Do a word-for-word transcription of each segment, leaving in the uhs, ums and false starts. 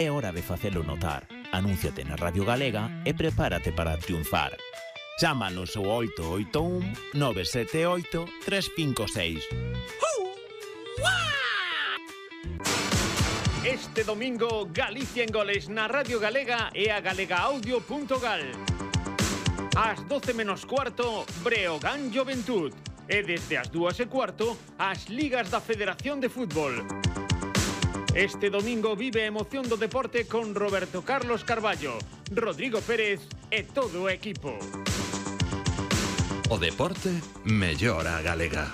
É hora de facelo notar. Anúnciate na Radio Galega e prepárate para triunfar. Chámanos ao oito oito un nove sete oito tres cinco seis. Este domingo, Galicia en goles na Radio Galega e a galegaaudio punto gal. Ás doce menos cuarto, Breogán Juventud. E desde as dúas e cuarto, as ligas da Federación de Fútbol. Este domingo vive a emoción do deporte con Roberto Carlos Carballo, Rodrigo Pérez e todo o equipo. O deporte mellora a galega.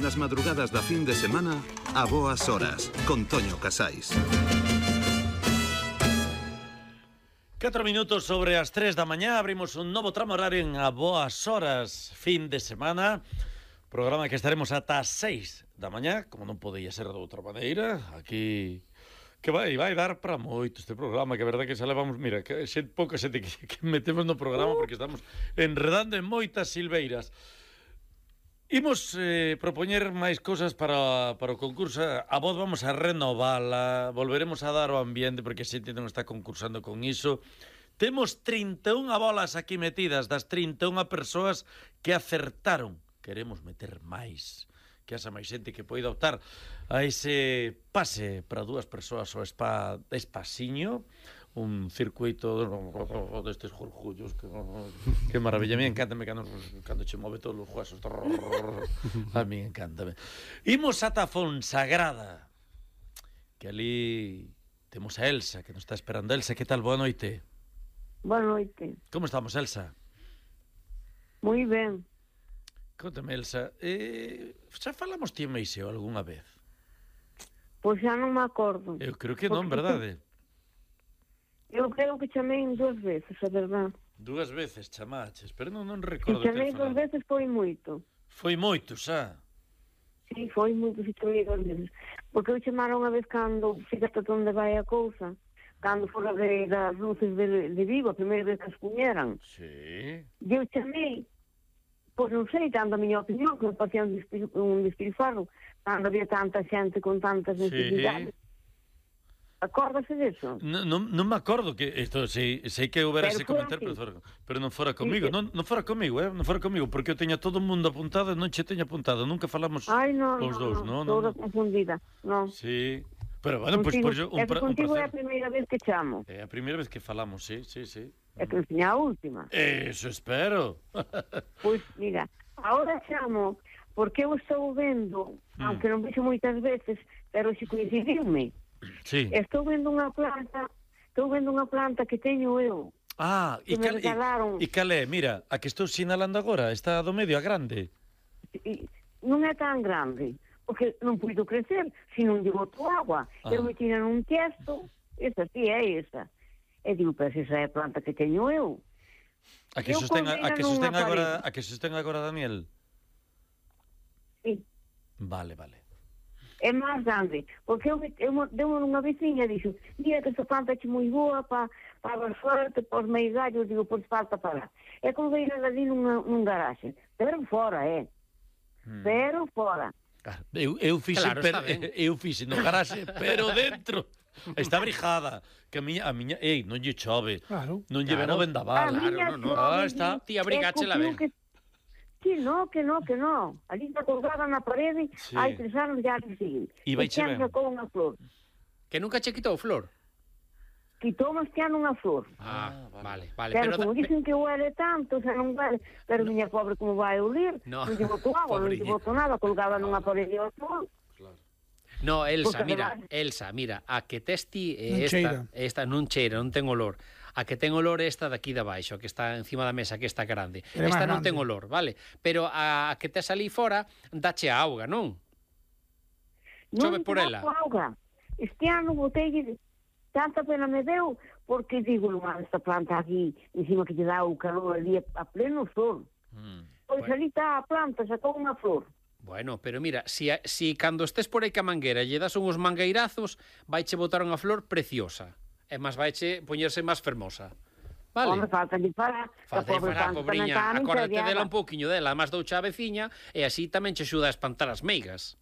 Nas madrugadas da fin de semana, a boas horas, con Toño Casais. Catro minutos sobre as tres da mañá, abrimos un novo tramo horario en a boas horas, fin de semana. Programa que estaremos ata as seis da mañá, como non podía ser de outra maneira. Aquí, que vai, vai dar para moito este programa, que é verdade que xa levamos, mira, que xe pouca xente que, que metemos no programa porque estamos enredando en moitas silveiras. Imos eh, propoñer máis cousas para, para o concurso. A voz vamos a renovala, volveremos a dar o ambiente porque a xente non está concursando con iso. Temos trinta e unha bolas aquí metidas das trinta e unha persoas que acertaron. Queremos meter máis, que haxa máis xente que poida optar a ese pase para dúas persoas ao spa Espasiño, un circuito destes jorjullos que, que maravilla. A mí encántame cando, cando che move todos os huesos. A mí encántame. Imos ata Fonsagrada, que ali temos a Elsa, que nos está esperando. Elsa, que tal? Boa noite. Boa noite. Como estamos, Elsa? Moi ben. Contame, Elsa, eh, xa falamos ti e Meiseo algunha vez? Pois xa non me acordo. Eu creo que non, verdade? Eu creo que chamei dúas veces, a verdade. Dúas veces chamaches, pero non, non Se recordo chamei dúas veces foi moito. Foi moito, xa? Sí, foi moito, se chamei dúas veces. Porque eu chamaron unha vez cando, fíjate onde vai a cousa, cando fora de, das luces de, de Vigo, a primeira vez que as puñeran. Sí. E eu chamei, pois non sei, tanto a miña opinión, que me parecía un, despil, un despilfarro, cando había tanta xente con tantas necesidades. Sí. Acórdase disso? Non, non, non me acordo que isto, sei, sei que houbera ese comentar, pero, fora, pero non fora comigo, sí, non, non fora comigo, eh, non fora comigo, porque eu teña todo o mundo apuntado e non che teña apuntado, nunca falamos Ai, no, os no, dous, no, non? Toda no, confundida, non. Sí, pero bueno, pois pues, por un, é que un contigo placer. É a primeira vez que chamo. É a primeira vez que falamos, sí, sí, sí. É que non a última. Eso espero. Pois, mira, agora chamo porque eu estou vendo, mm. aunque non vexo moitas veces, pero se coincidirme. Sí. Estou vendo unha planta, estou vendo unha planta que teño eu. Ah, e cal, e, e cal é? Mira, a que estou sinalando agora, está do medio, a grande. E, non é tan grande, porque non puido crecer, se non lle boto agua. Ah. Eu me tiran un tiesto, esa sí é esa. E digo, pero esa é a planta que teño eu. A que sostén, a, a que sostén agora, a que sostén agora Daniel? Sí. Vale, vale. É máis grande, porque eu, eu deu unha veciña e dixo, mira que esta planta é moi boa para pa a sorte, para os meigallos, digo, por falta para. É como veio ali nunha, num garaxe, pero fora, é. Hmm. Pero fora. Ah, eu, eu fixe, claro, per, eu fixe no garaxe, pero dentro. Está brijada, que a miña, a miña, ei, non lle chove, claro, non lle claro. Ven o vendaval. Claro, no, no. Ah, está. Ti abrigache la ven. Que no, que no, que no. Ali está colgada na parede, sí. Hai tres anos já que sigue. E vai che ben. Sacou unha flor. Que nunca che quitou flor? Quitou este ano unha flor. Ah, vale, vale. Pero, pero como da... dicen que huele tanto, xa non vale. Pero no. Miña pobre como vai a olir, no. Non lle botou agua, non lle botou nada, colgada nunha parede ao sol. No, Elsa, mira, Elsa, mira, a que testi eh, esta, esta non cheira, non ten olor. A que ten olor é esta daqui de baixo, que está encima da mesa, que está grande. Pero esta non grande. Ten olor, vale? Pero a, a que tes ali fora, dache a auga, non? Non chove por ela. Auga. Este ano botei, tanta pena me deu, porque digo, lumar esta planta aquí, encima que lle dá o calor ali a pleno sol. Mm, pois bueno. Ali está a planta, sacou unha flor. Bueno, pero mira, si, si cando estés por aí ca mangueira lle das uns mangueirazos, vaiche botar unha flor preciosa. E máis vaiche poñerse máis fermosa. Vale. Home, falta de parar. Falta de parar, pobrinha. Acórdate dela un pouquiño dela, máis doucha a veciña, e así tamén che axuda a espantar as meigas.